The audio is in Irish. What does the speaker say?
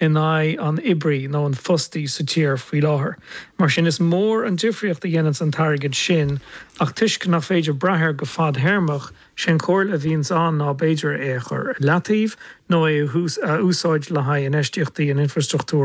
in aghaidh an oibrí nó an fostaí sa tír faoi láthair. Mar sin, is mór an difríocht a dhéananns an t-airgead sin, ach toisc nach féidir brath air go fadthéarmach, sé an chomhairle a bhíonns ann ná b'fhéidir é a chur ar leataobh nó é a úsáid le haghaidh infheistíochtaí in infreastruchtúr.